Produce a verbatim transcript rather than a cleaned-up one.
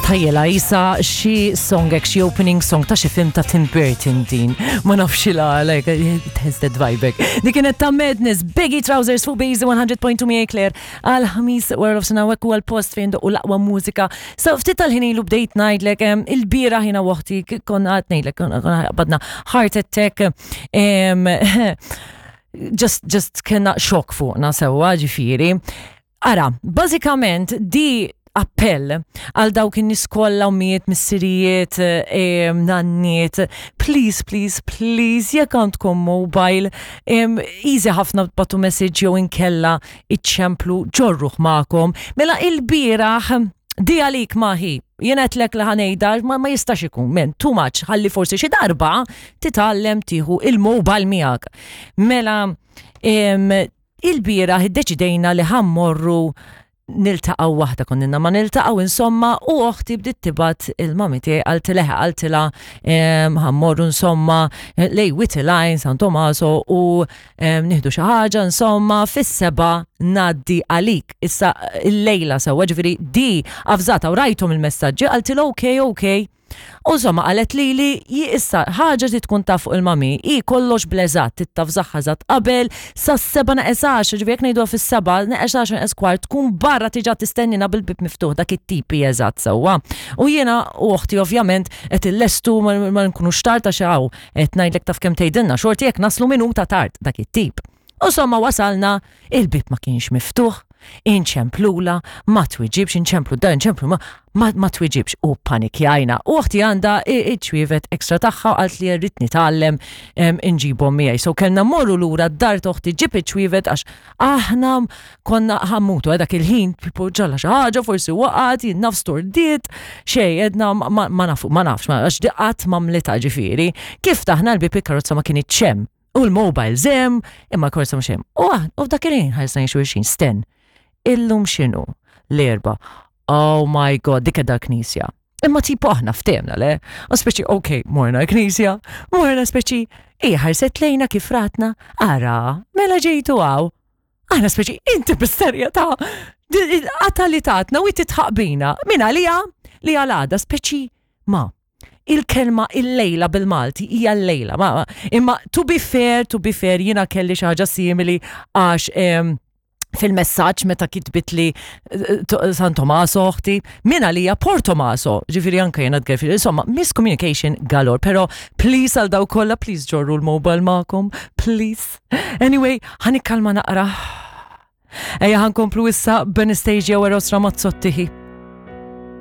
Nistħajjilha qisha xi song hekk, xi opening song ta' xi film ta' Tim Burton din. Ma nafx la, like, it has that vibe. Dik kienet ta' Madness, Baggy Trousers fuq Base one hundred point two miegħi Claire għal Ħamis wara nofsinhar u għal-post fejn u l-aqwa mużika. So ftit tal-ħin ilu bdejt ngħidlek em, il-bieraħ jiena u oħti konna qed ngħidlek konna konna qbadna heart attack. em, just, just kena xokk fuqna sewwa ġifieri. Ara, bażikament di appell għal dawk in-nies kollha, ommijiet, missirijiet, em, nanniet, please, please, please, jekk għandkom mobile, em, easy ħafna tibagħtu message jew inkella iċċemplu, ġorruh magħkom. Mela il-bieraħ di għalik maħi, jiena għedtlek li ħa ngħidha, ma, ma jistax ikun, men, too much, ħalli forsi xi darba titgħallem tieħu il-mobile miegħek. Mela, em, il-bieraħ iddeċidejna li ħa mmorru niltaqgħu waħda, konna ma niltaqgħu insomma, u oħti bdiet tibgħat il-mami tiegħi, qaltilha qaltilha ħa mmorru insomma lejn Wied il-Għajn, San Tomaso, u em, nieħdu xi ħaġa insomma, fis-sebgħa ngħaddi għalik. Issa il-lejla sewwa, ġifieri di avżata u rajthom il-messaġġi, qaltilha ok ok. U insomma qalet li li issa ħaġa li tkun taf fuq il-mami, i kollox bleżat, tittafżaħħa żat qabel sa seba naqes għaxra, ġifieri jekk ngħidu fis-sebgħa, neqes għaxra neqes kwart, tkun barra tiġa tistennina bil-bib miftuħ, dak it-tipi eżatt sewwa. U jiena u oħti ovvjament qed illestu ma ma nkunux tard għax hawn qed ngħidlek taf kemm tgħidilna xorti jekk naslu minuta tard, dak it-tip. U insomma wasalna, il-bib ma kienx miftuħ, inċemplula, ma twiġibx, inċemplu da, inċemplu ma, ma, ma twiġibx u panikjajna. U oħti għandha iċ-ċwievet ekstra tagħha u qalt li rrid nitgħallem em, inġibhom miegħi. So kellna morru lura d-dar t'oħti ġib iċ-ċwievet għax aħna konna ħa mmutu dak il-ħin, tipo ġralha xi ħaġa, forsi waqgħet, jien naf stordiet, xej, għedna ma, ma nafu, ma nafx, ma għax qatt ma mlita ġifieri. Kif ftaħna l-bib, il-karozza ma kinitx hemm. U l-mobile hemm, imma l-karozza mhux hemm. U aħ- u f'dak il-ħin ħarsna xulxin, sten. Illum x'inhu? L-Erbgħa. Oh my God, dik da knisja. Imma tipo aħna ftehemna le. U speċi, ok, morna knisja, morna speċi, i ħarset lejna kif ratna, ara, mela ġejtu hawn. Aħna speċi, inti bis-serjetà, għata li tatna u titħaq bina, min għalija li għalada speċi ma. Il-kelma il-lejla bil-Malti hija l-lejla. Ma, imma to be fair, to be fair, jiena kelli xi ħaġa simili għax em, fil-messaġġ meta kitbit li eh, to- San Tomaso oħti, min għalija Port Tomaso, ġifieri anka jena tgerfil, insomma, miscommunication galore, pero please għal daw kollha, please ġorru l-mobile magħkom, please. Anyway, ħa nikkalma naqra. Ejja ħa nkomplu issa b'Anastasia u Eros Ramazzotti.